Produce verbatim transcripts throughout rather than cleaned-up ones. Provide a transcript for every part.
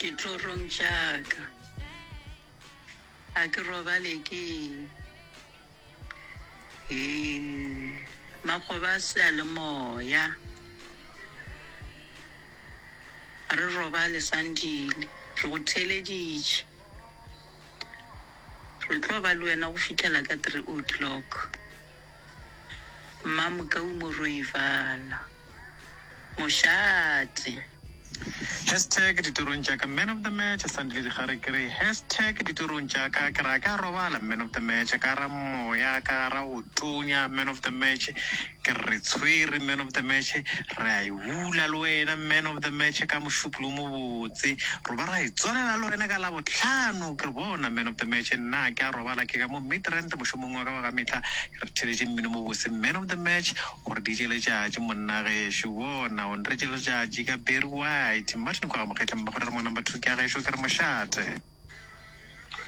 Ditorong tša ka. Ga ke robale ke eng? Hee, makgoba a seyalemoya. Ga re robale Sandile, re go theeleditše. Re tlo ba le wena go fihlela ka three o'clock. Mmamokau Moroivala. Mošate. Hashtag ditorong tša ka man of the match Sandile Dikgare ke re hashtag ditorong tša ka ke ra ka robala man of the match ka ra moya ka ra go tonya man of the match ke re tshwere man of the match re a e bula le wena man of the match ka mošupolo mo botse ro ba ra e tswalela le wena ka labohlano ke re bona man of the match nna ke a robala ke ka mo Midrand mošomong wa ka wa ka mehla re theletše mmino mo bose man of the match o re D J Letšatši monna gešo bona o nretše letšatši ka Barry White Martin kwa Mokgetla mmago re mo number two ke a gešo ke re mošate.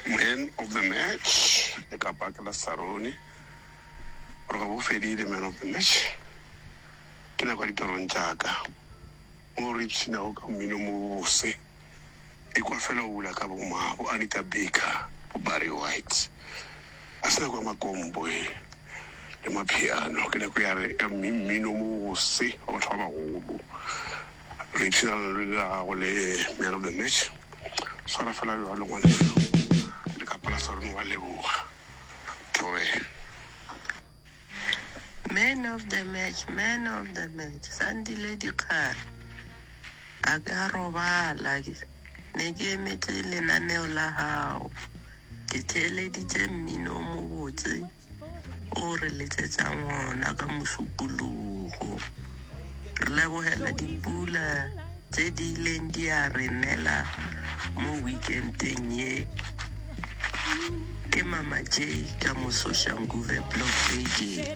Man of the match le ka paka la Saroni gore ga bo fedile man of the match ke nako ya ditorong tša ka mo re ipshinago ka mmino mo bose e kwa fela o bula ka bo ma bo Anita Baker bo Barry White a se nako ya makompo e le mapiano ke nako ya re ya mmino mo bose wa batho ba bagolo re ipshina le la gago le man of the match swara fela bjalo ngwaneso le ka pala Saroni wa leboga thobela. Man of the match, man of the match, Sandile Dikgare. A ka robala, ne ke emetše lenaneo la gago. Ke theeleditše mmino o mobotse o re letšetšang wona ka mošupologo. Re lebogela dipula tše di ileng di a re nela mo weekendeng ye. Ke Mama J ka mo Soshanguve Block A J.